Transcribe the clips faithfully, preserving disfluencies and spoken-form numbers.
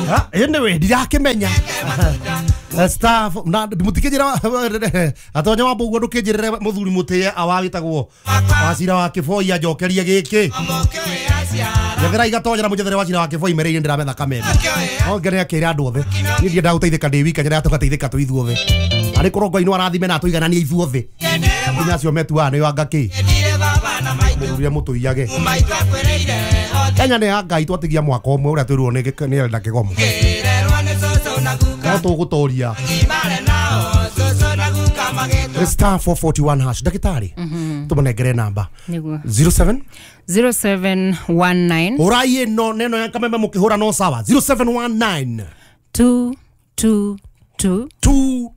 Ah, anyway, ndirakimenya. Staff na mutikijira atonya wa buguo ndukijirire muthuri mutie awagitagwo wacira wa kiboi anjokerie giki njethera igatonya na munjethere wacira wa kiboi mereire ndirametha kameme no ngene akira andu othe ni ndienda guteithika ndi wika nyera tugateithika tu ithuothe ari korwo Ngai no arathime na tuigananie ithuothe nginya acio metuaga nĩ anga kĩ mũthuri mũtũiyage Kenya nĩ ya Ngai twatigia mwaka ũmwe ũrĩa twĩrwo nĩ nĩ Elda Kĩgomo no tũgũtoria star four forty-one hash ndagĩtarĩ tũmũnengere namba zero seven zero seven one nine ũrai ĩno neno ya kameme mũkĩhũra no sawa zero seven one nine two two two two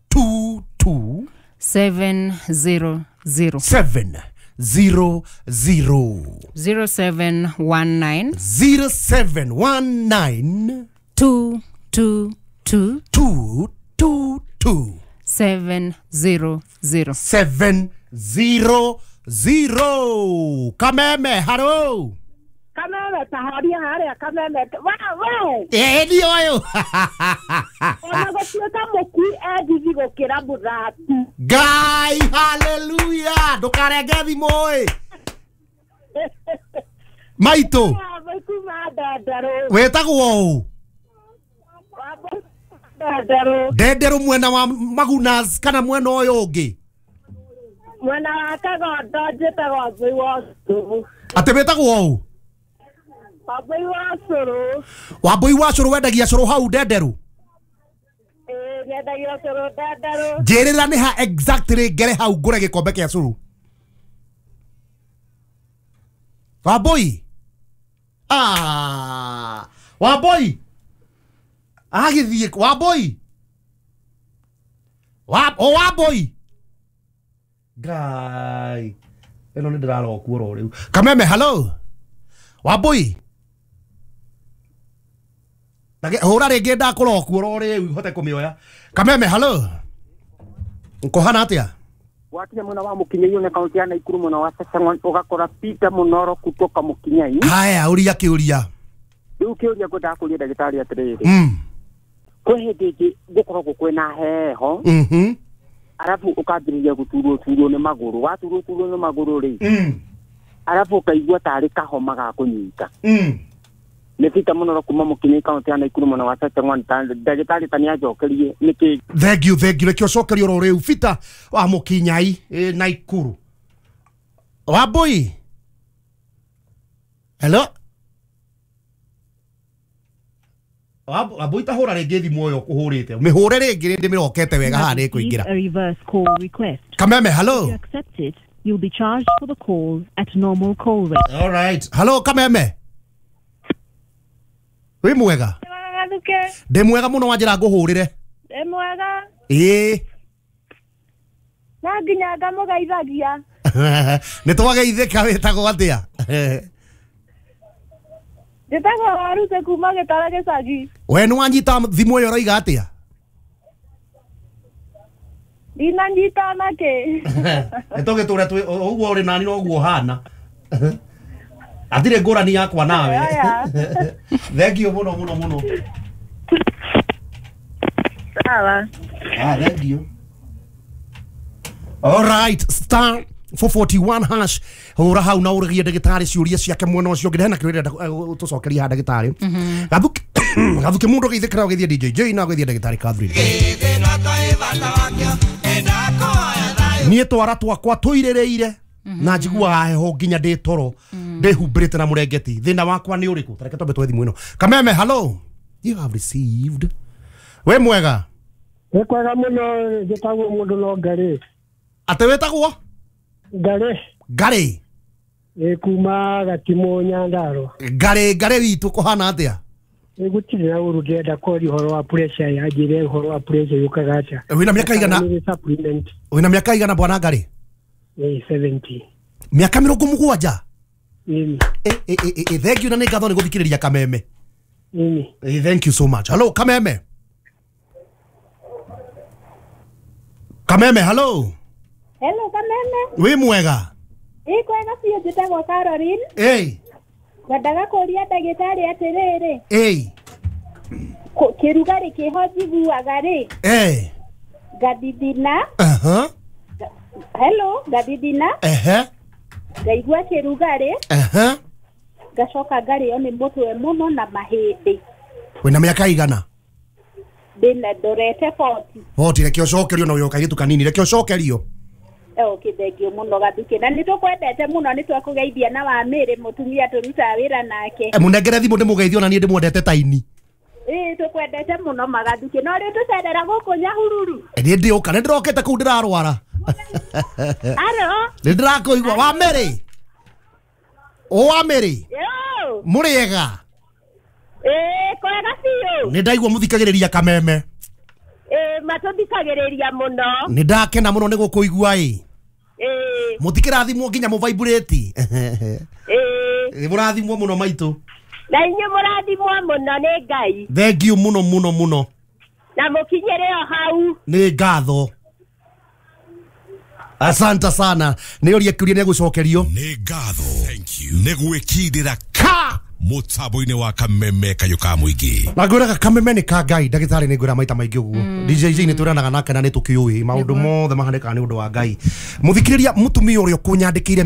two two seven zero zero seven zero zero zero seven one nine zero seven one nine two two two two two two seven zero zero seven zero zero. Kameme, haro. Kameme taharia haria kameme. Wa wa. Eh ni oyo. Ona gũtuĩka mũkui endithi gũkĩra mũthaki. Ngai, hallelujah. Ndũkarenge thimũ ĩ. Maitũ. Wĩtagwo ũ? Ndenderũ mwena wa Magunas kana mwena ũyũ ũngĩ? Mwena wa Kagondo njĩtagwo Wambui wa Cũrũ. Atĩ wĩtagwo ũ? Wambui wa Cũrũ. Wambui wa Cũrũ wendagia cũrũ hau Ndenderũ? Ĩĩ nyendagia cũrũ Ndenderũ. Njĩrĩra nĩ ha exactly ngere hau ngũre gĩkombe kĩa cũrũ. Wambui. Ah, Wambui. Agĩthiĩ Wambui. Wa o Wambui. Ngai. Ĩno nĩ ndĩrarokwo oro rĩu. Kameme, hello. Wambui. Nage hũra rĩngĩ ndakũrokwo oro rĩu hote kũmĩoya. Kameme, hello. Ũkũhana atĩa? Wakinya mwena wa Mũkinyai na kaunti ya Naikuru mwena wa Sasang'on ũgakora Peter Mũnoro kutoka Mũkinyai. Haya, ũria kĩũria. Rĩu kĩũria ngwendaga kũria ndagĩtarĩ atĩrĩrĩ. Mm. Kwĩ hĩndĩ ĩngĩ gũkoragwo kwĩna heho. Mhm. Arabu ũkambĩrĩria gũturwo turwo nĩ magũrũ. Waturwo turwo nĩ magũrũ rĩ. Mm. Arabu ũkaigua tarĩ kahoma ga kũnyita. Mm. Nĩ Peter Mũnoro kuma Mũkinyai kaunti ya Naikuru mwena wa Sasang'on. Ndagĩtarĩ ta nĩanjokerie nĩkĩ. Thank you, thank you. Reke ũcokerio oro rĩu Peter wa Mũkinyai Naikuru. Wambui. Hello. Wambui ta hũra rĩngĩ thimũ ĩyo ũkũhũrĩte. Mĩhũre rĩngĩ ndĩmĩrokete wega haha nĩĩkũingĩra. A reverse call request. Kameme, hello. If you accept it, you'll be charged for the call at normal call rate. All right. Hello Kameme. Wĩ mwega? Ndĩ mwega mũno wanjĩra ngũhũrĩre. Ndĩ mwega. Ĩĩ. Na nginya ngamũgeithagia. Nĩ twageithĩka wĩtagwo atĩa? Njĩtagwo Waruse kuma Gĩtara gĩcagi. We nĩ wanyita thimũ ĩyo ũroiga atĩa? Ndinanyita nakĩ. Nĩ tũgĩtũre twĩ ũguo ũrĩ nani noguo ũhana. Atirĩ ngũrani yakwa nawe. Thank you mũno mũno mũno. Sawa. Ah, thank you. All right, star four forty-one hash. Hũra hau na ũrĩgie ndagĩtarĩ ciũria ciake mwena ũcio ũngĩ. Hena kĩũria tũcokerie haha ndagĩtarĩ. Gathuki Gathuki mũndũ ũgeithĩkĩra ũgeithie D J J na ũgeithie ndagĩtarĩ Catherine. Niĩ twara twakwa tũirĩrĩire na njiguaga heho nginya ndĩ toro ndĩhumbĩrĩte na mũrengeti. Thĩna wakwa nĩ ũrĩkũ? Tareke twambe twethe thimũ ĩno. Kameme, hello. You have received. We mwega? Nĩ kwega mũno njĩtagwo mũndũ no Ngarĩ. Atĩ wĩtagwo? Ngarĩ. Ngarĩ. Ĩ kuma Gatimũ Nyandarũa. Ngarĩ Ngarĩ witũ kũhana atĩa? Ĩ gũtirĩ na ũru ndĩrenda kwaria ũhoro wa pressure ya njĩre ũhoro wa pressure yũkaga atĩa. Wĩna mĩaka igana? Wĩna mĩaka igana bwana Ngarĩ? Ĩ seventy. Mĩaka mĩrongo mũgwanja? Ĩni. Ĩ ĩ ĩ thank you na nĩ ngatho nĩ gũthikĩrĩria Kameme. Ĩni. Ĩ thank you so much. Hello Kameme. Kameme, hello. Hello Kameme. Wĩ mwega? Ĩ kwega biũ njĩtagwo Caroline. Ĩ. Ngwendaga kũria ndagĩtarĩ atĩrĩrĩ. Ĩĩ. Kĩrugarĩ kĩho njiguaga rĩ. Eh. Ngathithina. Aha. Hello, ngathithina. Ehe. Ngaigua kĩrugarĩ. Ehe. Ngacoka ngarĩo nĩ mũtwe mũno na mahĩndĩ. Wĩna mĩaka igana? Ndĩna ndorete forty. forty reke ũcokerio na ũyũ kairĩtu kanini reke ũcokerio. Okay, thank you muno Gathukĩ na nĩtũkwendete mũno nĩtwakũgeithia na Wamĩrĩ mũtumia tũrutaga wĩra nake. E mũnengere thimũ ndĩmũgeithie ona niĩ ndĩmwendete ta ini. Ĩĩ tũkwendete mũno Magathukĩ no rĩu tũcerera gũkũ Nyahururu. Niĩ ndĩũka nĩ ndĩrokĩte kũu ndĩrarwara. Aro. Nĩ ndĩrakũigua Wamĩrĩ. O Wamĩrĩ. Yo. Mũrĩega. Ĩĩ kwega biũ. Nĩ ndaigua mũthikagĩrĩria Kameme. Ĩĩ matũthikagĩrĩria mũno. Nĩ ndakena mũno nĩ gũkũigua ĩ. Ĩĩ. Mũtikĩrathimwo nginya mũvibrate. Ĩĩ. Mũrathimwo mũno maitũ. Na inyuĩ mũrathimwo mũno nĩ Ngai. Thank you mũno mũno mũno. Na mũkinyĩre o hau. Nĩ ngatho. Asante sana. Nĩ ũria kĩũria nĩ egũcokerio. Nĩ ngatho. Thank you. Nĩ gwĩkindĩra ka mũtambo-inĩ wa Kameme kayũ ka mũingĩ. Na ngwĩraga Kameme nĩ ka Ngai ndagĩtarĩ nĩ ngwĩra maita maingĩ ũguo. D J J nĩ twĩranaga nake na nĩ tũkĩũĩ maũndũ mothe mahanĩkaga nĩ ũndũ wa Ngai. Mũthikĩrĩria mũtumia ũrĩa ũkũnyandĩkĩire